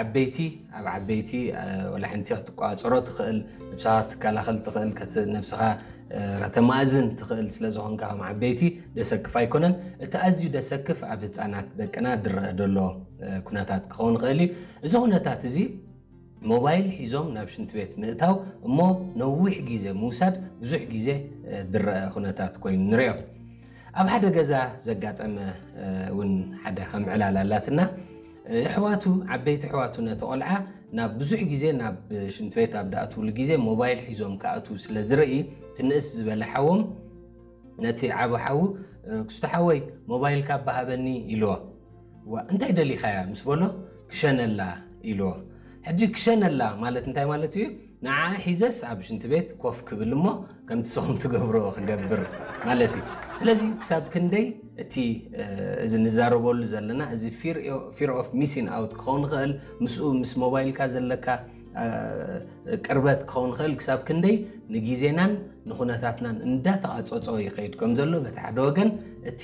ዓበይቲ ኣብ ዓበይቲ ወላ ሓንቲ ክትቋፀሮ ትኽእል፣ ነብስኻ ክትከላኸል ትኽእል፣ ነብስኻ ከተማእዝን ትኽእል ስለ ዝኾንካ ከም ዓበይቲ ደሰክፍ ኣይኮነን። እቲ ኣዝዩ ደሰክፍ ኣብ ህፃናት ደቅና ድረአ ዘሎ ኩነታት ክኸውን ይኽእል እዩ። እዚ ኩነታት እዚ ሞባይል ሒዞም ናብ ሽንቲ ቤት ምእታው እሞ ነዊሕ ግዜ ምውሳድ ብዙሕ ግዜ ድረአ ኩነታት ኮይኑ ንሪኦ። ኣብ ሓደ ገዛ ዘጋጠመ እውን ሓደ ከም ዕላል ኣላትና። ኣሕዋቱ፣ ዓበይቲ ኣሕዋቱ ነቲ ቆልዓ ናብ ብዙሕ ግዜ ናብ ሽንቲ ቤት ኣብ ድኣትውሉ ግዜ ሞባይል ሒዞም ክኣትዉ ስለ ዝርኢ፣ እቲ ንእስ ዝበለ ሓዎም ነቲ ዓቢ ሓዉ፣ "ክስቶ ሓወይ፣ ሞባይልካ እባ ሃበኒ" ኢልዎ። "ዋ፣ እንታይ ደሊኻያ?" ምስ በሎ፣ "ክሸነላ" ኢልዎ። ሕጂ ክሸነላ ማለት እንታይ ማለት እዩ? ንዓ ሒዘስ ኣብ ሽንቲ ቤት ኮፍ ክብል እሞ ከምቲ ንስኹም ትገብርዎ ክገብር ማለት እዩ። ስለዚ ክሳብ ክንደይ እቲ፣ እ፣ እዚ ንዛረበሉ ዘለና እዚ fear of missing out ክኸውን ይኽእል፣ ምስኡ ምስ ሞባይልካ ዘለካ፣ እ፣ ቅርበት ክኸውን ይኽእል፣ ክሳብ ክንደይ ንግዜናን ንኹነታትናን እንዳተቓጸጾ ይኸይድ ከም ዘሎ በቲ ሓደ ወገን፣ እቲ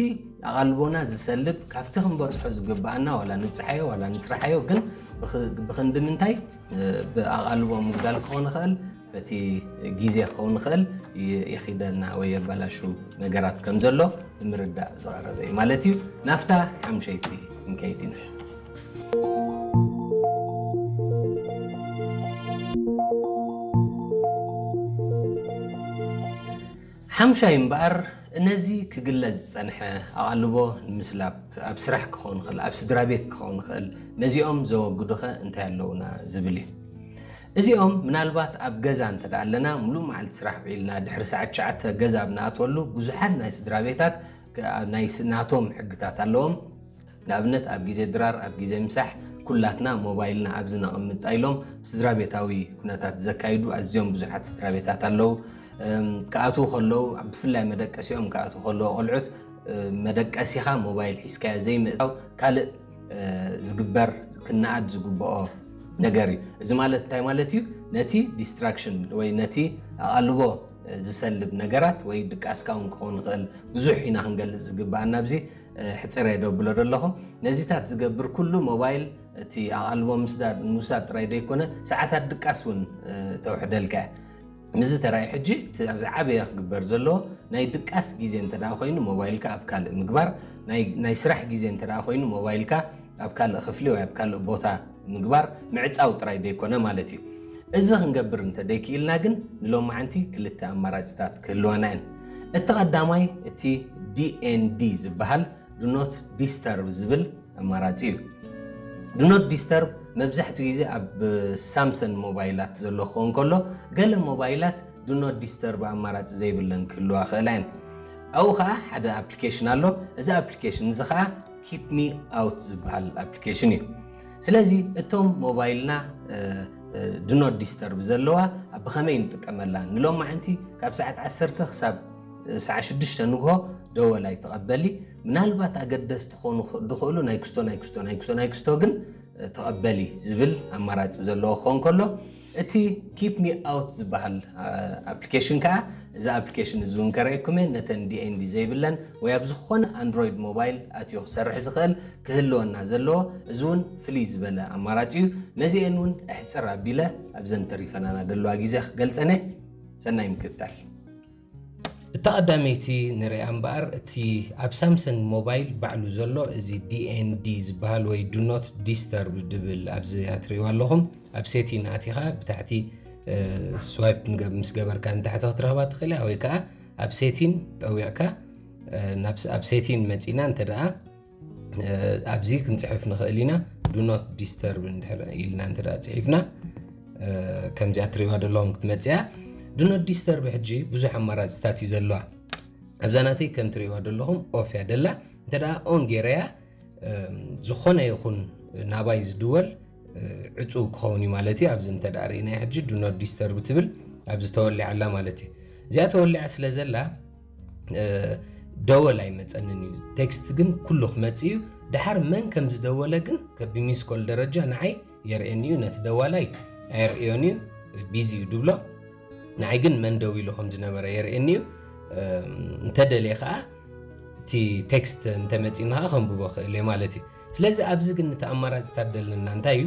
ኣቓልቦና ዝሰልብ ካብቲ ክንበጽሖ ዝግብኣና ዋላ ንብጽሓዮ ዋላ ንስርሓዮ ግን ብኽ-፣ ብኽንዲ ምንታይ ብኣቓልቦ ምጉዳል ክኾን ይኽእል፣ በቲ ግዜ ክኸውን ይኽእል፣ ይ-፣ የኺደና ወይ የበላሹ ነገራት ከም ዘሎ ንምርዳእ ዝቐረበ እዩ ማለት እዩ። ናብታ ሓምሸይቲ ክንከይድ ኢና። ሓምሻይ እምበኣር፣ ነዚ ክግለጽ ዝጸንሐ ኣቓልቦ ንምስላብ፣ ኣብ ስራሕ ክኸውን ይኽእል፣ ኣብ ስድራ ቤት ክኸውን ይኽእል፣ ነዚኦም ዘወግዱኸ እንታይ ኣለዉና ዝብል እዩ። እዚኦም ምናልባት ኣብ ገዛ እንተ ደኣ ኣለና፣ ምሉእ መዓልቲ ስራሕ ውዒልና፣ ድሕሪ ሰዓት ትሽዓተ ገዛ ኣብ ንኣትወሉ፣ ብዙሓት ናይ ስድራ ቤታት ከ-፣ ናይ ስ-፣ ናቶም ሕግታት ኣለዎም። ንኣብነት፣ ኣብ ግዜ ድራር፣ ኣብ ግዜ ምሳሕ፣ ኩላትና ሞባይልና ኣብዚ ነቐምጣ ኢሎም ስድራ ቤታዊ ኩነታት ዘካይዱ ኣዝዮም ብዙሓት ስድራ ቤታት ኣለዉ። እም፣ ክኣትዉ ከለዉ፣ ብፍላይ መደቀሲኦም ክኣትዉ ከለዉ፣ ቆልዑት፣ እ፣ መደቀሲኻ ሞባይል ሒዝካዮ ዘይምእታው ካልእ፣ እ፣ ዝግበር፣ ክነኣድ ዝግብኦ ነገር እዩ። እዚ ማለት እንታይ ማለት እዩ? ነቲ ዲስትራክሽን ወይ ነቲ ኣቓልቦ፣ እ፣ ዝሰልብ ነገራት ወይ ድቃስካ እውን ክኸውን ይኽእል። ብዙሕ ኢና ክንገልጽ ዝግብኣና ኣብዚ፣ እ፣ ሕጽር እየ ደብሎ ዘለኹ። ነዚታት ዝገብር ኩሉ ሞባይል እቲ ኣቓልቦ ምስዳድ፣ ምውሳድ ጥራይ ደይኮነ፣ ሰዓታት ድቃስ እውን፣ እ፣ ተውሕደልካ እያ። ምስዚ ተራእዩ ሕጂ እቲ ኣብዚ ዓበየ ክግበር ዘለዎ ናይ ድቃስ ግዜ እንተ ደኣ ኮይኑ ሞባይልካ ኣብ ካልእ ምግባር፣ ናይ፣ ናይ ስራሕ ግዜ እንተ ደኣ ኮይኑ ሞባይልካ ኣብ ካልእ ክፍሊ ወይ ኣብ ካልእ ቦታ ምግባር ምዕጻው ጥራይ ደይኮነ ማለት እዩ። እዚ ክንገብር እንተ ደይክኢልና ግን ንሎማዓንቲ ክልተ ኣማራጺታት ክህልወና እየን። እቲ ቀዳማይ እቲ ዲ ኤን ዲ ዝበሃል ዱ ኖት ዲስተርብ ዝብል ኣማራጺ እዩ። ዱ ኖት ዲስተርብ መብዛሕትኡ ግዜ ኣብ ሳምሰንግ ሞባይላት ዘሎ ክኸውን ከሎ፣ ገለ ሞባይላት ዱ ኖት ዲስተርብ ኣማራጺ ዘይብለን ክህልዋ ይኽእላ እየን። ኣብኡ ኸኣ ሓደ ኣፕሊኬሽን ኣሎ። እዚ ኣፕሊኬሽን እዚ ኸኣ ኪፕ ሚ ኣውት ዝበሃል ኣፕሊኬሽን እዩ። ስለዚ እቶም ሞባይልና፣ እ፣ እ፣ ዱ ኖት ዲስተርብ ዘለዋ ኣብ ብኸመይ ንጥቀመላ? ንሎማዓንቲ ካብ ሰዓት ዓሰርተ ክሳብ፣ እ፣ ሰዓት ሽዱሽተ ንግሆ ደወል ኣይትቐበሊ። ምናልባት ኣገደስቲ ክኾኑ ኽ-፣ ዝኽእሉ ናይ ክስቶ፣ ናይ ክስቶ፣ ናይ ክስቶ፣ ናይ ክስቶ ግን፣ እ፣ ተቐበሊ ዝብል ኣማራጺ ዘለዎ ክኸውን ከሎ፣ እቲ ኪፕ ሚ ኣውት ዝበሃል፣ እ፣ ኣፕሊኬሽን ከኣ፣ እዚ ኣፕሊኬሽን እዚ እውን ከርእየኩም እየ፣ ነተን ዲ ኤን ዲ ዘይብለን ወይ ኣብ ዝኾነ ኣንድሮይድ ሞባይል ኣትዩ ክሰርሕ ዝኽእል ክህልወና ዘለዎ፣ እዚ እውን ፍልይ ዝበለ ኣማራጺ እዩ። ነዚኤን እውን ኣሕጽር ኣቢለ ኣብዘን ተሪፈናና ዘለዋ ግዜ ክገልጸን እየ። ሰናይ ምክትታል። እታ ቀዳመይቲ ንሪኣ እምበኣር፣ እቲ ኣብ ሳምሰንግ ሞባይል ባዕሉ ዘሎ እዚ ዲ ኤን ዲ ዝበሃል ወይ ዱ ኖት ዲስተርብ ድብል ኣብዚ ኣትሪእዋ ኣለኹም። ኣብ ሴቲን ኣቲኻ ብታሕቲ፣ እ፣ ስዋይፕ ንገ-፣ ምስ ገበርካ ንታሕቲ ክትረኽባ ትኽእል እያ፣ ወይ ከዓ ኣብ ሴቲን ጠዊቕካ፣ እ፣ ናብ ስ-፣ ኣብ ሴቲን መጺና እንተ ደኣ፣ እ፣ ኣብዚ ክንጽሕፍ ንኽእል ኢና። ዱ ኖት ዲስተርብ እንድሕር ኢልና እንተ ደኣ ጽሒፍና፣ እ፣ ከምዚኣ ትሪእዋ ዘለኹም ክትመጽእ እያ። ዱ ኖት ዲስተርብ ሕጂ ብዙሕ ኣማራጺታት እዩ ዘለዋ። ኣብዛ ናተይ ከም ትሪእዋ ዘለኹም ኦፍ እያ ደላ። እንተ ደኣ ኦን ገይረያ፣ እም፣ ዝኾነ ይኹን ናባይ ዝድወል፣ እ፣ ዕጹው ክኸውን እዩ ማለት እዩ። ኣብዚ እንተ ደኣ ርኢናዮ ሕጂ ዱ ኖት ዲስተርብ ትብል ኣብዚ ተወሊዓ ኣላ ማለት እዩ። እዚኣ ተወሊዓ ስለ ዘላ፣ እ፣ ደወል ኣይመጸንን እዩ። ቴክስት ግን ኩሉ ክመጽእ እዩ። ደሓር መን ከም ዝደወለ ግን ከ-፣ ብሚስ ኮል ደረጃ ንዓይ የርእየኒ እዩ። ነቲ ደዋላይ ኣየርእዮን እዩ፣ ቢዚ እዩ ድብሎ። ንዓይ ግን መን ደዊሉ ከም ዝነበረ የርእየኒ እዩ። እም፣ እንተደልየ ኸኣ እቲ ቴክስት እንተመጺእኒ ኸኣ ከንብቦ ክእል እየ ማለት እዩ። ስለዚ ኣብዚ ግን እቲ ኣማራጺታት ደለና እንታይ እዩ?